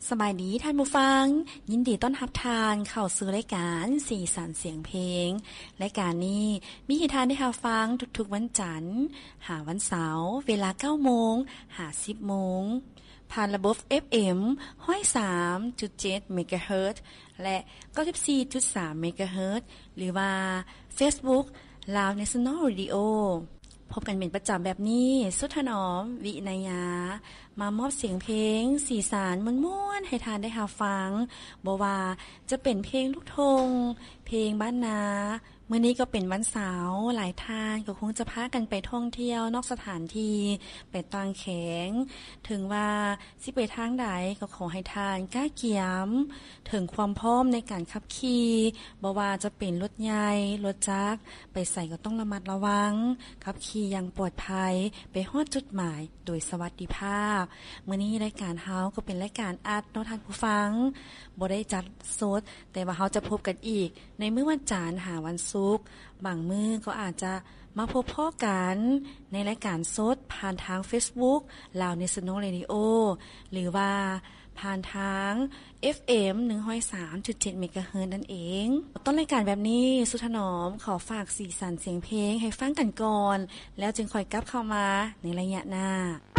ສະບາຍດີທ່ານຜູ້ຟັງ, ຍິນດີຕ້ອນຮັບທ່ານເຂົ້າສູ່ລາຍການສີສັນສຽງເພງ. ລາຍການນີ້ມີໃຫ້ທ່ານໄດ້ຮັບຟັງທຸກໆວັນຈັນຫາວັນເສົາ ເວລາເກົ້າໂມງຫາສິບໂມງ ຜ່ານລະບົບ ເອັຟເອັມ ຮ້ອຍສາມຈຸດເຈັດ ເມກາເຮີດ ແລະ ເກົ້າສິບສີ່ຈຸດສາມ ເມກາເຮີດ ຫຼືວ່າ Facebook Lao National Radio. ພົບກັນເປັນປະຈຳແບບນີ້, ສຸດຖະໜອມ ວິໄນຍາ ມາມອບສຽງເພງ ສີສັນມ່ວນໆໃຫ້ທ່ານໄດ້ຮັບຟັງ, ບໍ່ວ່າຈະເປັນເພງລູກທົ່ງ, ເພງບ້ານນາ. ມື້ນີ້ກໍເປັນວັນເສົາ, ຫຼາຍທ່ານກໍຄົງຈະພາກັນໄປທ່ອງທ່ຽວນອກສະຖານທີ່, ໄປຕ່າງແຂວງ. ເຖິງວ່າຊິໄປທາງໃດ ກໍຂໍໃຫ້ທ່ານກະກຽມເຖິງຄວາມພ້ອມໃນການຂັບຂີ່, ບໍ່ວ່າຈະເປັນລົດໃຫຍ່, ລົດຈັກ, ໄປໃສກໍຕ້ອງລະມັດລະວັງ, ຂັບຂີ່ຢ່າງປອດໄພ, ໄປຮອດຈຸດໝາຍໂດຍສະຫວັດດີພາບ. ມື້ນີ້ລາຍການເຮົາກໍເປັນລາຍການອັດເນາະທ່ານຜູ້ຟັງ, ບໍ່ໄດ້ຈັດສົດ, ແຕ່ວ່າເຮົາຈະພົບກັນອີກໃນມື້ວັນຈັນຫາວັນສຸກ. ບາງມື້ກໍອາດຈະມາພົບພໍ້ກັນໃນລາຍການສົດຜ່ານທາງ Facebook Lao National Radio ຫຼືວ່າ ຜ່ານທາງ ເອັຟເອັມ ໜຶ່ງຮ້ອຍສາມຈຸດເຈັດ ເມກາເຮີດ ນັ້ນເອງ. ຕົ້ນລາຍການແບບນີ້, ສຸດຖະໜອມຂໍຝາກສີສັນສຽງເພງໃຫ້ຟັງກັນກ່ອນ, ແລ້ວຈຶ່ງຄ່ອຍກັບເຂົ້າມາໃນໄລຍະໜ້າ.